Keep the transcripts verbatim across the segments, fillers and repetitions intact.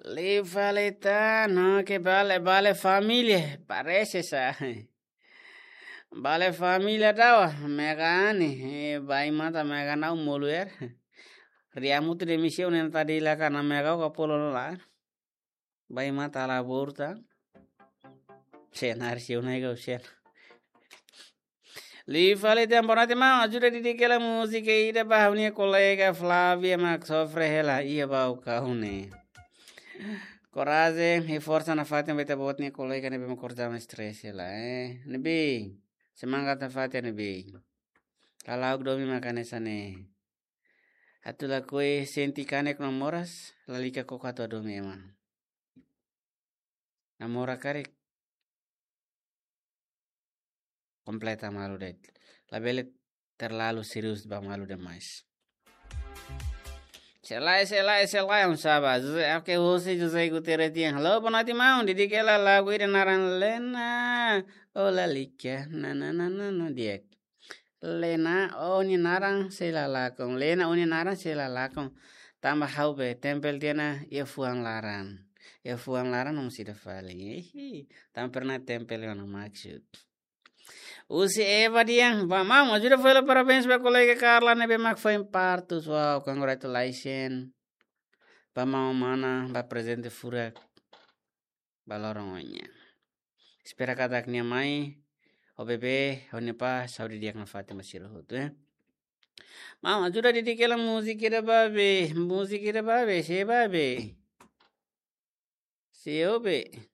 Liu fali tan, no ke bale, bale família, parese sa. Bale família dawa, mega ani, eh, bai mata mega nau moluer. Riamu tu demisi unen tadi la kana mega ka polo la. Bai mata la borta. Senar si unai ka usen. Liu fali tan, boa noite, maun. Ajuda didik hela múzika ida ba ha'u-nia kolega Flávia mak sofre hela iha bau kaune. Korajen, i forsa nafatin ba ita-boot nia kolega ne'ebé mak kordama stress hela, eh. Ne'ebé, semangat nafatin ne'ebé. Lalauk domin maka hanesan ne'e. Atu lakohi sente kanek no moras, lalika koko atu domin ema. Namora karik. Kompleta malu de'it. Labele terlalu serius ba malu demais. Selai, selai, selai, um saba. José, oke, husi José Gutierrez nian. Halo, boa noite, maun. Didik hela lagu ida naran Lena. Oh, lalika. Na, na, na, na, na, di'ak. Lena, ó-nia naran sei la lakon. Lena, ó-nia naran sei la lakon. Tanba ha'u be, tempel tiha ona iha fuan laran. Iha fuan laran no sida fali. Ihi, tanba pernah tempel ona maksud. Husi Eva nian, ba maun, ajuda fali parabéns ba kolega Carla ne'ebé mak foin partus. Wow, congratulations. Ba maun mana, ba prezente furak. Ba loron oin nian. Espera katak nia mai, ho bebé, ho nia pá, saúde di'ak nafatin ba sira hotu, eh. Maun, ajuda didik hela múzika ida ba be, múzika ida ba be, sé ba be. Sé ó be.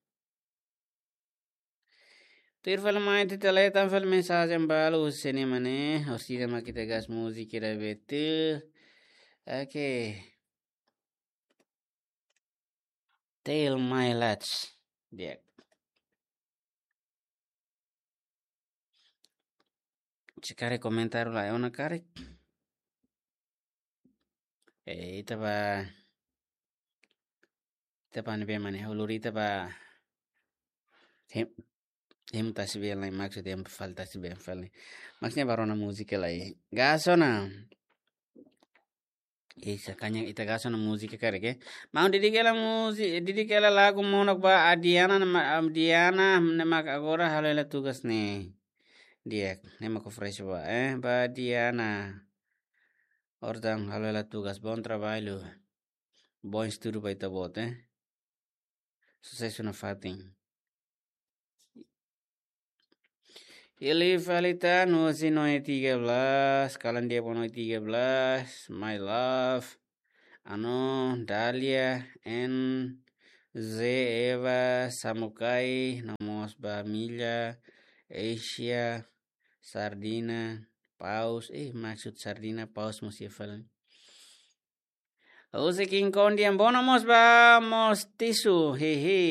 Tuir fali mai, ita lee tan fali mensajen balu husi ne'e mane, orsida mak ita gas múzika ida be tu. Oke. Tell my lads. Di'ak. Se karik komentar la ona karik. Eh, ita ba, ita ba ne'ebé mane, ulur ita ba. Hem, hem tasi bel lai maksud hem fali tasi bel fali. Maksudnya baru na múzika lai. Gas ona. Isa kanya ita gas ona múzika karik, eh. Maun didik hela múzika, didik hela lagu monok ba Adiana, nama Adiana, ne'e mak agora halo hela tugas ne'e. Di'ak, ne'e mak fresh ba, eh, ba Adiana. Ora tan halo hela tugas, bom trabalho. Bom estudo ba ita-boot, eh. Susesu nafatin. Liu fali tan, husi Noe tiga belas, kalan dia bono tiga belas, my love. Ano, Dalia, N Z, Eva, Samukai, no mós ba Mila, Asia, Sardina, Paus, eh, maksud Sardina, Paus mós iha fali. Husi King Kong nian, bono mós ba Mostisu, hehe.